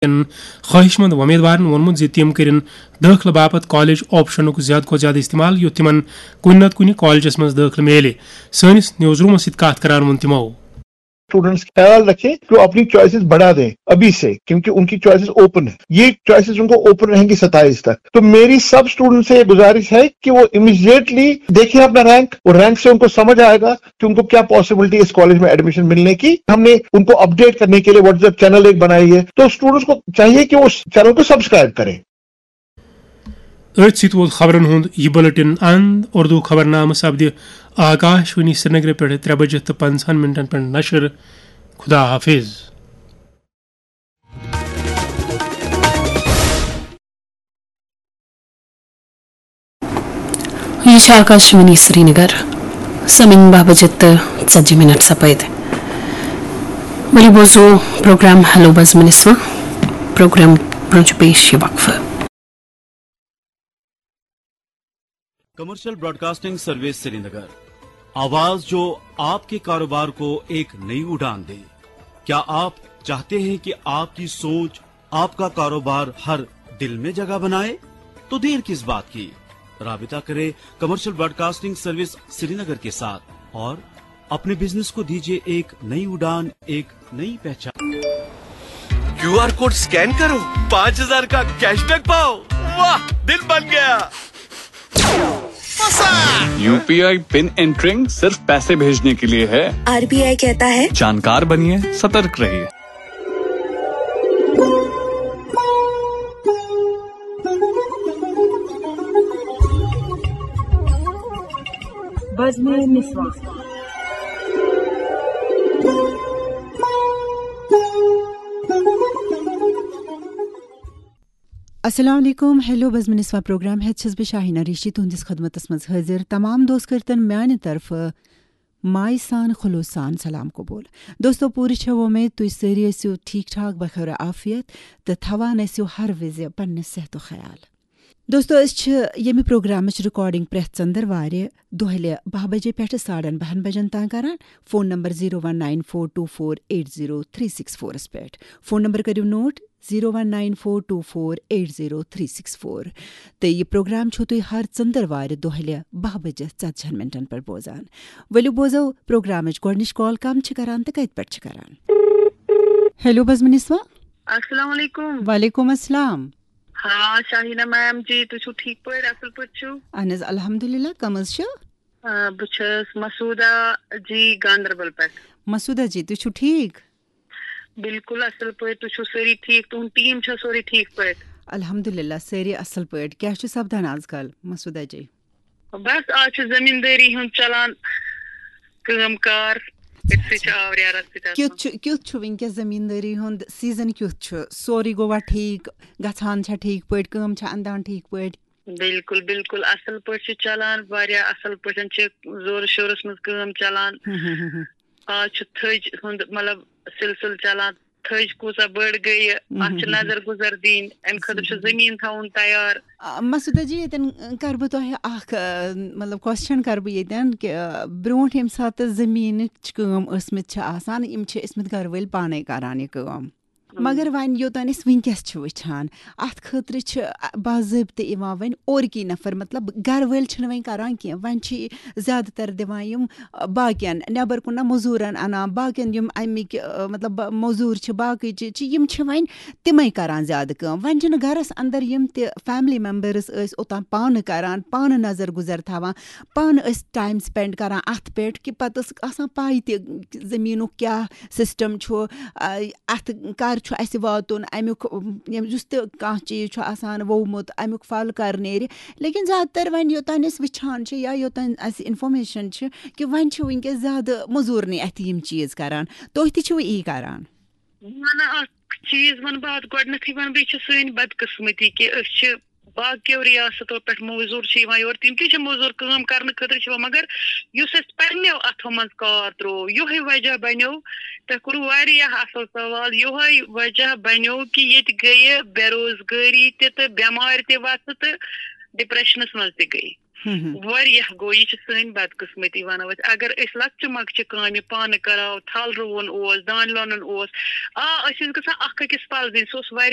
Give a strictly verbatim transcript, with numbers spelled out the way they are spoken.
کٮ۪ن خٲہِش مند وۄمیدوارن ووٚنمُت زِ تِم کٔرِن دٲخلہٕ باپتھ کالج آپشنُک زیادٕ کھۄتہٕ زیادٕ استعمال، یُتھ تِمن کُنہِ نتہٕ کُنہِ کالجس منٛز دٲخلہٕ میلہِ۔ سٲنِس نیوز رومس سۭتۍ کتھ کران ووٚن تِمو۔ اسٹوڈنٹس خیال رکھیں کہ وہ اپنی چوائسیز بڑھا دیں ابھی سے، کیونکہ ان کی چوائسیز اوپن ہے۔ یہ چوائسیز ان کو اوپن رہیں گی ستائیس تک۔ تو میری سب اسٹوڈنٹ سے یہ گزارش ہے کہ وہ امیڈیٹلی دیکھیں اپنا رینک، اور رینک سے ان کو سمجھ آئے گا کہ ان کو کیا پاسبلٹی اس کالج میں ایڈمیشن ملنے کی۔ ہم نے ان کو اپڈیٹ کرنے کے لیے واٹس ایپ چینل ایک بنائی ہے، تو اسٹوڈنٹس کو چاہیے کہ وہ اس چینل کو سبسکرائب کریں۔ أتھۍ سۭتۍ ووت خبرن ہُنٛد یہِ بُلٹن اند۔ اردو خبرنامہٕ سپدِ آکاش وانی سرینگرٕ پٮ۪ٹھ ترٛےٚ بجہِ تہٕ پنٛژاہن منٹن پٮ۪ٹھ نشر۔ خدا حافظ۔ یہِ چھِ آکاشوانی سرینگر۔ سمن باہ بجے تہٕ ژتجی منٹ سپٲدۍ۔ ؤلِو بوزو پروگرام ہیلو بزمِ نسواں۔ پروگرام برونٛہہ چھُ پیش یہِ وقفہٕ۔ کمرشل براڈکاسٹنگ سروس سرینگر، آواز جو آپ کے کاروبار کو ایک نئی اڑان دے۔ کیا آپ چاہتے ہیں کہ آپ کی سوچ، آپ کا کاروبار ہر دل میں جگہ بنائے؟ تو دیر کس بات کی، رابطہ کریں کمرشل براڈکاسٹنگ سروس سرینگر کے ساتھ اور اپنے بزنس کو دیجیے ایک نئی اڑان، ایک نئی پہچان۔ کیو آر کوڈ اسکین کرو، پانچ ہزار کا کیش بیک پاؤ۔ واہ، دل بن گیا۔ यूपीआई पिन एंटरिंग सिर्फ पैसे भेजने के लिए है। आरबीआई कहता है, जानकार बनिए, सतर्क रहिए। بزمِ نسواں۔ السلام علیکم، ہیلو بزمِ نسواں پروگرام ہیتھ چھس بہٕ شاہینہ ریشی تُہنٛدِس خدمتس منٛز حٲضِر۔ تمام دوست کٔرتن میانہِ طرفہٕ مایہِ سان خلوص سان سلام قبول۔ دوستو، پوٗرٕ چھےٚ وۄمید تُہۍ سٲری ٲسِو ٹھیٖک ٹھاک، بخیر عافیت تہٕ تھاوان ٲسِو ہر وِزِ پننہِ صحتُک خیال۔ دوستو، أسۍ چھِ ییٚمہِ پروگرامٕچ ریکارڈنگ پرٛٮ۪تھ ژٔنٛدٕروارِ دۄہلہِ باہ بجے پٮ۪ٹھٕ ساڑن باہن بجن تام کران۔ Phone number zero one nine four two four eight zero three six فورس پٮ۪ٹھ۔ فون نمبر کٔرِو note, zero one nine four two four eight zero three six four. تہٕ یہِ پروگرام چھِو تُہۍ ہر ژٔنٛدٕروارِ دۄہلہِ باہ بجہِ ژتجی ہن منٹن پٮ۪ٹھ بوزان۔ ؤلِو بوزو پروگرامٕچ گۄڈٕنِچ کال کم چھِ کران تہٕ کتہِ پٮ۪ٹھ چھِ کران۔ ہیلو بزمِ نسواں۔ السلام علیکم۔ وعلیکم السلام۔ ہاں، شاہینہ میم جی، تُہۍ چھِو ٹھیٖک پٲٹھۍ، اَصٕل پٲٹھۍ چھِو؟ اہن حظ، الحمدللہ، کم حظ چھِو؟ آ، بہٕ چھَس مسعوٗدہ جی، گاندربل پٮ۪ٹھ۔ مسعوٗدہ جی، تُہۍ چھِو ٹھیٖک؟ بِلکُل اَصٕل پٲٹھۍ، تُہۍ چھِو سٲری ٹھیٖک؟ تُہُنٛد ٹیٖم چھا سورُے ٹھیٖک پٲٹھۍ؟ الحمدللہ، سٲری اَصٕل پٲٹھۍ۔ کیٛاہ چھُ سپدان آز کل، مسعوٗدہ جی؟ بس، آز چھُ زٔمیٖندٲری ہُنٛد چلان کٲم کار، أتھۍ سۭتۍ چھِ آوریٛارَس سۭتۍ آسان۔ کیُتھ چھُ، کیُتھ چھُ وٕنکیٚس زٔمیٖندٲری ہُنٛد سیٖزن کیُتھ چھُ؟ سورُے گوٚوا ٹھیٖک؟ گژھان چھا ٹھیٖک پٲٹھۍ؟ کٲم چھا اندان ٹھیٖک پٲٹھۍ؟ بِلکُل، بِلکُل، اَصٕل پٲٹھۍ چھُ چلان، واریاہ اَصٕل پٲٹھۍ چھِ زورٕ شورَس منٛز کٲم چلان۔ ہم، ہم، ہم، ہم۔ آز چھُ تھٔج ہُنٛد، مطلب، سلسلہٕ چلان۔ تھٔج کۭژاہ بٔڑ گٔیہِ، اَتھ چھِ نظر گُزر دِنۍ، اَمہِ خٲطرٕ چھُ زٔمیٖن تھاوُن تیار۔ آ، مسعوٗدہ جی، ییٚتٮ۪ن، آ، کَرٕ بہٕ تۄہہِ اَکھ، آ، مطلب، کوسچن کَرٕ بہٕ ییٚتٮ۪ن کہِ، آ، برٛونٛٹھ ییٚمہِ ساتہٕ زٔمیٖنٕچ کٲم ٲسمٕتۍ چھِ آسان، یِم چھِ ٲسمٕتۍ گَرٕ وٲلۍ پانَے کَران یہِ کٲم۔ مگر وۄنۍ یوٚتام أسۍ وٕنکیٚس چھِ وٕچھان، اَتھ خٲطرٕ چھِ، آ، باضٲبطہٕ یِوان وۄنۍ اورکی نفر، مطلب، گَرٕ وٲلۍ چھِنہٕ وۄنۍ کَران کینٛہہ، وۄنۍ چھِ زیادٕ تر دِوان یِم، آ، باقین، نٮ۪بر کُن نہ مٔزوٗرن اَنان، باقین یِم اَمِکۍ، آ، مطلب، مٔزوٗر چھِ، باقٕے چیٖز چھِ، یِم چھِ وۄنۍ تِمے کران زیادٕ کٲم۔ وۄنۍ چھِنہٕ گرس اندر یِم تہِ فیملی ممبرس ٲسۍ اوٚتام پانہٕ کران، پانہٕ نظر گُزر تھاوان، پانہٕ ٲسۍ ٹایم سپینڈ کران اتھ پٮ۪ٹھ کہِ پتہٕ ٲس آسان پاے تہِ زٔمیٖنُک کیٛاہ سسٹم چھُ، آ، اتھ کر چھُ اسہِ واتُن، امیُک، یِم، یُس تہِ کانٛہہ چیٖز چھُ آسان وومُت، امیُک پھل کر نیرِ۔ لیکن زیادٕ تر وۄنۍ یوٚتام أسۍ وٕچھان چھِ یا یوٚتام اسہِ انفارمیشن چھِ کہِ وۄنۍ چھِ وٕنکیٚس زیادٕ مٔزوٗرنٕے اتھِ یِم چیٖز کران۔ تُہۍ تہِ چھِو یی کران؟ نہ، نہ، اکھ چیٖز وَنہٕ بہٕ اَتھ گۄڈٕنیتھٕے وَنہٕ بہٕ، یہِ چھِ سٲنۍ بدقٕسمتی کہِ أسۍ چھِ باقیو ریاستو پٮ۪ٹھ موٚزوٗر چھِ یِوان یور، تِم تہِ چھِ موٚزوٗر کٲم کرنہٕ خٲطرٕ چھِ یِوان، مگر یُس اَسہِ پننیو اَتھو منٛز کار ترٛوو، یِہوٚے وجہ بنیو۔ تۄہہِ کوٚروٕ واریاہ اَصٕل سوال۔ یِہوٚے وجہ بنیو کہِ ییٚتہِ گٔیہِ بے روزگٲری تہِ تہٕ بٮ۪مارِ تہِ وَژھٕ تہٕ ڈپریشنس منٛز تہِ گٔیہِ۔ واریاہ گوٚو، یہِ چھِ سٲنۍ بدقٕسمتی وَنو أسۍ۔ اگر أسۍ لۄکچہِ مۄکچہِ کامہِ پانہٕ کَرہاو، تھل رُوُن اوس، دانہِ لونُن اوس، آ، أسۍ ٲسۍ گژھان اکھ أکِس پَلزٕنۍ، سُہ اوس واریاہ